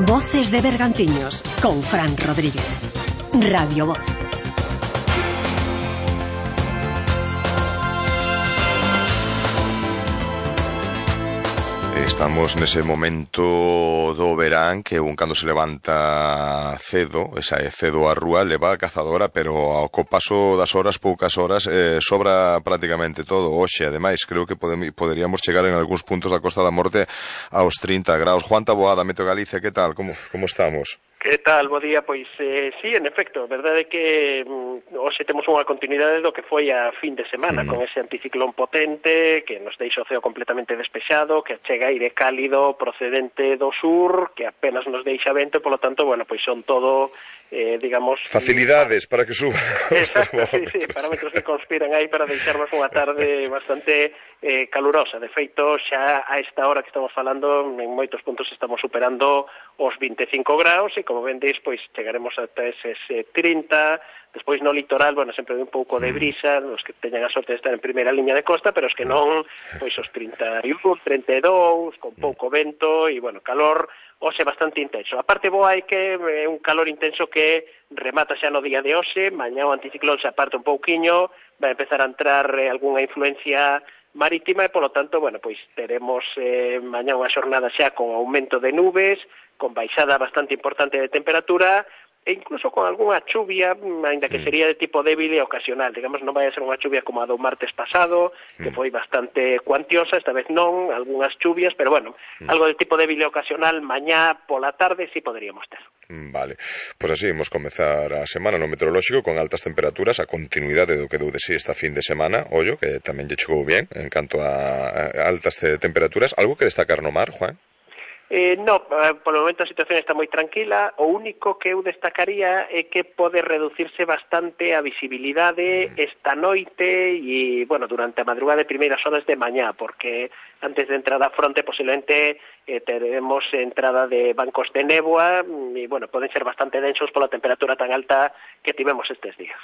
Voces de Bergantiños con Fran Rodríguez. Radio Voz. Estamos nese momento do verán que un cando se levanta cedo, esa é cedo a rúa, leva a cazadora, pero ao paso das horas, poucas horas, sobra prácticamente todo. Hoxe, ademais, creo que poderíamos chegar en algúns puntos da Costa da Morte aos 30 graus. Juan Taboada, Meteo Galicia, que tal? Como estamos? Que tal? Bo día, pois sí, en efecto, verdade é que hoxe temos unha continuidade do que foi a fin de semana, con ese anticiclón potente que nos deixa o ceo completamente despexado, que chega aire cálido procedente do sur, que apenas nos deixa vento, polo tanto, bueno, pois son todo, digamos... facilidades para que suba. Exacto, sí, parámetros que conspiran aí para deixarnos unha tarde bastante calurosa. De feito, xa a esta hora que estamos falando, en moitos puntos estamos superando os 25 graus e, como vendes, pois chegaremos ata eses 30. Despois no litoral, bueno, sempre un pouco de brisa, os que teñan a sorte de estar en primeira liña de costa, pero os que non, pois os 31, 32, con pouco vento e, bueno, calor hoxe bastante intenso. A parte boa é que é un calor intenso que remata xa no día de hoxe, mañá o anticiclón se aparte un pouquiño, vai empezar a entrar algunha influencia marítima e, polo tanto, bueno, pois teremos mañá unha xornada xa con aumento de nubes, con baixada bastante importante de temperatura e incluso con algunha chuvia, ainda que sería de tipo débil e ocasional. Digamos, non vai a ser unha chuvia como a do martes pasado, que foi bastante cuantiosa, esta vez non, algunhas chuvias, pero bueno, algo de tipo débil e ocasional mañá pola tarde sí poderíamos ter. Vale, pois así imos comezar a semana no meteorolóxico con altas temperaturas, a continuidade do que deu de si esta fin de semana, ollo, que tamén lle chegou bien en canto a altas temperaturas. Algo que destacar no mar, Juan? No, polo momento a situación está moi tranquila. O único que eu destacaría é que pode reducirse bastante a visibilidade esta noite e, bueno, durante a madrugada de primeiras horas de mañá, porque antes de entrar a fronte posiblemente teremos entrada de bancos de néboa e, bueno, poden ser bastante densos pola temperatura tan alta que tivemos estes días.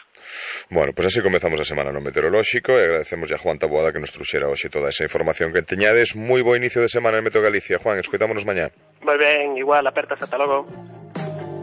Bueno, pois así comezamos a semana no meteorolóxico e agradecemos a Juan Taboada que nos truxera hoxe toda esa información que teñades. Moi bo inicio de semana en Meteo Galicia. Juan, escoitámonos mañá. Moi ben, igual, apertas, ata logo.